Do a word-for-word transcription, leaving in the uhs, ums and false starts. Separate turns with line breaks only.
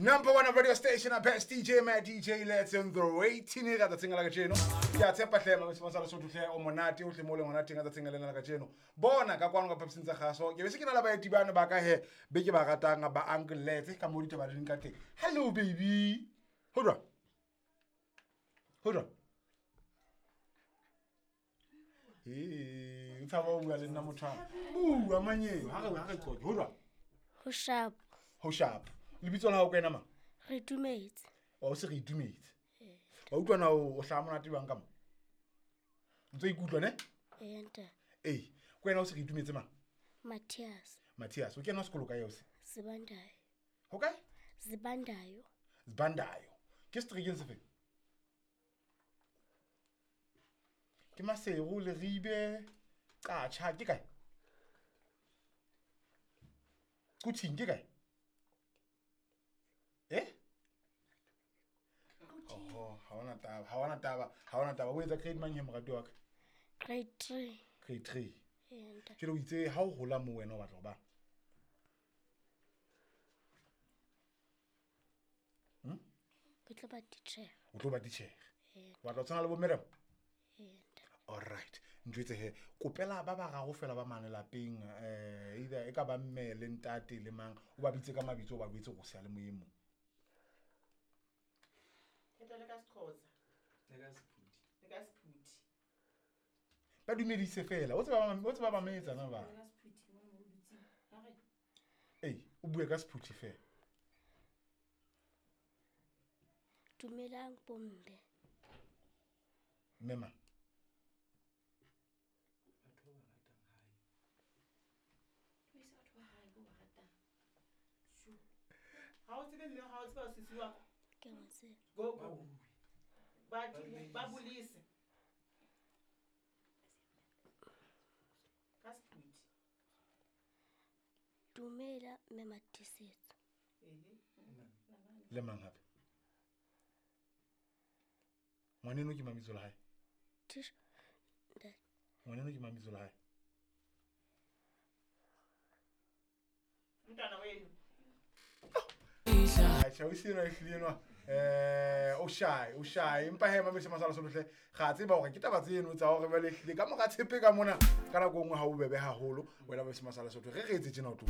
Number one radio station, best D J, my D J, let's in the rating ka tsatsing la kajeno. Ke a tshepa hle mama sa Lesotho hle o monate o hle mo le monate ka tsatsing lena la kajeno. Bona ka kwano ka phaposing tsa kgaso. Ke be se ke na le baeti bana ba ka he be ke ba ratang ba Uncle Lets ka mo ditaba di ka teng. Hello baby. Hold on. Hold on. Eh, o tshaba ho bua le nna motho wa. Bua manyeo, ha re ha re qoqe. Hold on.
Ho sharp.
Ho sharp. Lebitso la hao ke wena mang?
Re itumetse.
Wa o se re itumetse. Wa utlwa na o hlaha monate jwang ka mo? Ntse o ikutlwa ne?
Ee, ntate.
Ee, ke wena o se re itumetse mang?
Matthias.
Matthias, o kena sekolo kae o se?
Zibandayo.
Ho kae?
Zibandayo.
Zibandayo. Ke seterekeng sefe? Ke Maseru, Leribe, Qacha, ke kae? Kuthing ke kae? Eh? Oh, ha hona taba, ha hona taba, ha hona taba. O etsa grade mang he morati wa ka?
Grade three.
Grade three.
Ee, ntate.
Jwale o itse ha o hola mo wena o batla ho ba? Hm?
Ke tlo ba titjhere.
O tlo ba titjhere.
Ee.
O batla ho tshwana le bo Miriam?
Ee, ntate.
All right. Ntjwetse he, kopela ba bararo fela ba mane lapeng, eh either e ka ba mme le ntate le mang, o ba bitse ka mabitso, o ba botse go sea le moemo.
Ke le ka Sexhosa.
Le ka Sephuthi.
Le ka Sephuthi.
Ba dumedise fela, o tseba ba o tseba ba metsa na ba.
Le ka Sephuthi mo mo dutse. Ha re.
Ei, o bue ka Sephuthi fela.
Dumelang bomme.
Mme mang?
Batho ba ratang hae.
Dumedisa batho ba hae bo ba ratang. Shu. Ha o tsebe mme ha o tseba sisi wa ka.
Ke mo tseba.
Go go. Ba ba bolise. Ka Sephuthi.
Dumela mme Matisetso.
Ehe.
Le mang hape? Ngwaneno ke mabitso la hae?
Tish. Ntate.
Ngwaneno ke mabitso la hae?
Mntwana wenu.
Acha o sena ehlile enwa eh o shy o shy empa he mametse masala sohle ga tseba hore ke taba tseno tsa hore ba lehlile ka mora tshepe ka mona ka nako nngwe ha o bebe haholo wena mametse masala sohle re re etse tjena o tlo